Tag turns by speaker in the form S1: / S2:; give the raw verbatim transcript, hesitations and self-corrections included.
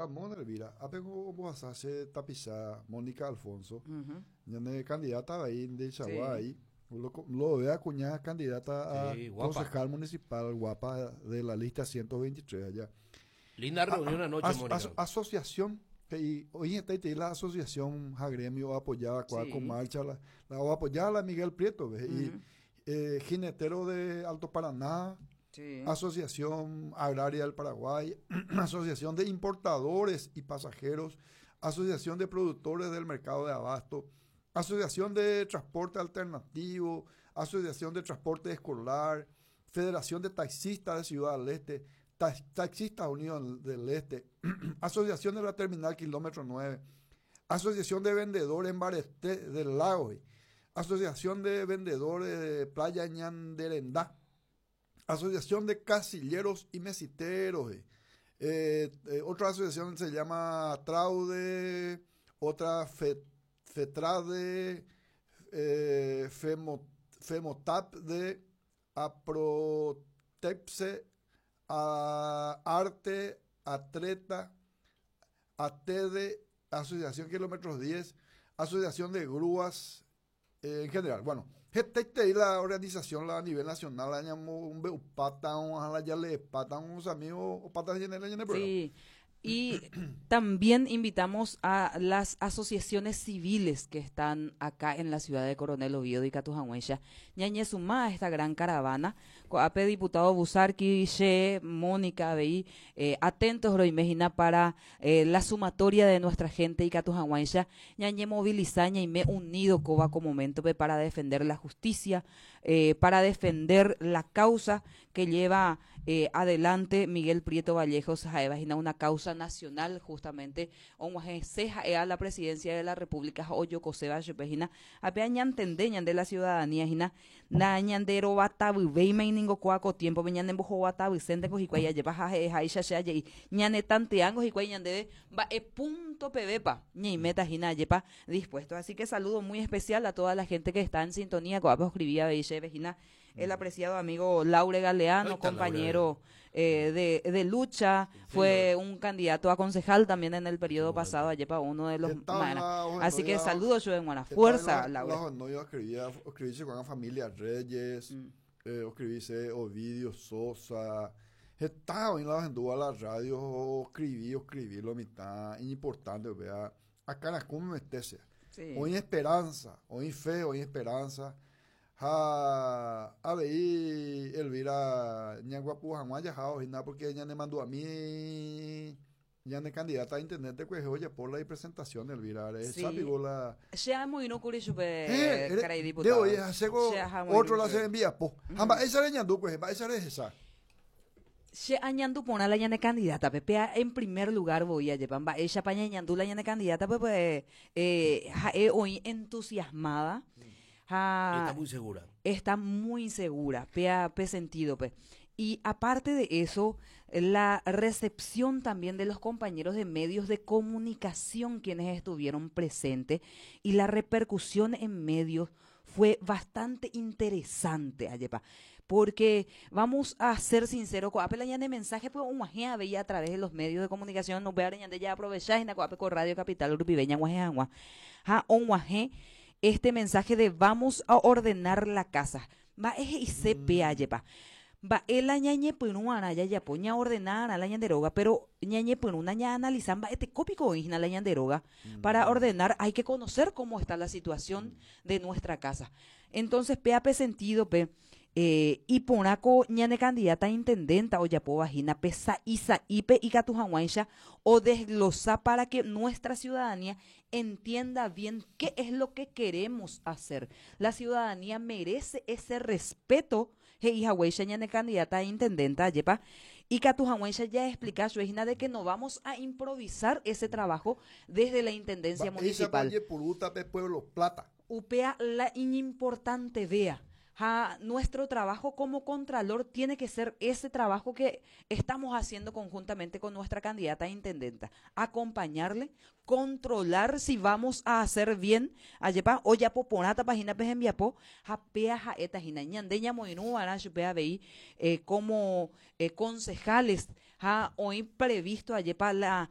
S1: Ramón Elvira, apengo ombohasa tapicha Mónica Alfonso, ñane candidata ahí de Chaguay, lo, lo vea cuñada candidata a
S2: Sí, guapa.
S1: Concejal municipal guapa de la lista ciento veintitrés allá.
S2: Linda reunión anoche,
S1: As-
S2: Mónica.
S1: as- asociación que y hoy está ahí la asociación gremio apoyaba
S3: Sí.
S1: con marcha la, la apoyaba la Miguel Prieto, ¿ves? Y eh, jinetero de Alto Paraná,
S3: Sí.
S1: Asociación Agraria del Paraguay, Asociación de Importadores y Pasajeros, Asociación de Productores del Mercado de Abasto, Asociación de Transporte Alternativo, Asociación de Transporte Escolar, Federación de Taxistas de Ciudad del Este, Ta- Taxistas Unidos del Este, Asociación de la Terminal Kilómetro nueve, Asociación de Vendedores en Mbarete del Lago, Asociación de Vendedores de Playa Ñanderendá, Asociación de Casilleros y Mesiteros. eh. Eh, eh, otra asociación se llama Traude, otra Fe- Fetrade, eh, Femo- Femotap de Aprotepse, a Arte, Atreta, A T D, Asociación Kilómetros diez, Asociación de Grúas eh, en general. Bueno, G T la organización la a nivel nacional, la llamó un pata, un ya le pata, unos amigos, o pata en el
S3: Sí. Y también invitamos a las asociaciones civiles que están acá en la ciudad de Coronel Oviedo y ikatu hag̃uáicha ñañesuma a esta gran caravana. Ko'ápe diputado Buzarquí, che, Mónica, avei, eh, atentos roime para eh, la sumatoria de nuestra gente ikatu hag̃uáicha ñañemovilisa ñaime unido kóva ko momento para defender la justicia, eh, para defender la causa que lleva eh, adelante Miguel Prieto Vallejos ha'éva una causa nacional justamente og̃uahẽse a la presidencia de la República ojokoséva chupe hína ape ñantende ñande la ciudadanía hína na ñanderovatavyvéima ningo kóa ko tiempo ñanembohovatavysénteko hikuái ajepa ha'eháicha che aje'i ñanetanteángo hikuái ñandéve mba'e punto pevépa ñaiméta hína ajepa dispuesto. Así que saludo muy especial a toda la gente que está en sintonía. Ko'ápe escribía avei chéve hína el apreciado amigo Laure Galeano, compañero eh, de, de lucha, fue un candidato a concejal también en el periodo pasado, ajepa uno de los. Así que saludos yo en buena fuerza, Laure.
S1: No, yo escribía, escribí con la familia Reyes, mm. eh, escribí Ovidio Sosa, estaba en la la radio, escribí, escribí lo mitad, importante, vea, acá como me sí. Hoy esperanza, hoy fe, hoy esperanza. Ha avei Elvira ñaguapu hag̃ua jahao hína porque ñane mandu'ami ñane candidata a intendente kuehe ojapo la presentación Elvira
S3: Sí.
S1: La
S3: Che amoirũkuri chupe
S1: eh,
S3: karai diputado.
S1: De oye otro la se envía po. Ha mba'éicha reñandu kuehe, mba'éicha rehecha?
S3: Che añandu porã la ñane candidata pe en primer lugar voi ajepa mba'éichapa ñañandu la ñane candidata pe pues eh, ha'e oĩ entusiasmada ha,
S2: Está muy segura.
S3: Está muy segura, pe, pe sentido, pe. Y aparte de eso, la recepción también de los compañeros de medios de comunicación quienes estuvieron presentes y la repercusión en medios fue bastante interesante, ajepa, porque vamos a ser sinceros, ko'ápe la ñane mensaje pues og̃uahẽ avei a través de los medios de comunicación, no ñande ya aprovechar ko'ápe ko Radio Capital rupive ñag̃uahẽ hag̃ua. Ha og̃uahẽ este mensaje de "vamos a ordenar la casa". Mba'e he'ise ajepa. Mba'e la ñañepyrũarã jajapo ñaordenarã la ñande róga, pero ñañepyrũna ñaanaliza mba'etekópiko oĩhína la ñande róga. Para ordenar hay que conocer cómo está la situación de nuestra casa. Entonces, péape sentido pe eh, iporãko ñane candidata intendenta ojapóva hína pe sa'i sa'ípe ikatu hag̃uáicha o desglosa para que nuestra ciudadanía entienda bien qué es lo que queremos hacer. La ciudadanía merece ese respeto he'i haguéicha ñane candidata intendenta ajepa ikatu hag̃uáicha ya explicar hína de que no vamos a improvisar ese trabajo desde la intendencia municipal.
S1: Pueblo Plata.
S3: Upéa la importante vea. Ha, nuestro trabajo como contralor tiene que ser ese trabajo que estamos haciendo conjuntamente con nuestra candidata a intendenta. Acompañarle, controlar si vamos a hacer bien, ajepa, ojapo porãtapa hína pe hembiapo, ha péa ha'éta hína, ñande ñamoirũva'erã chupe avei eh, como eh, concejales, ha oĩ previsto ajepa la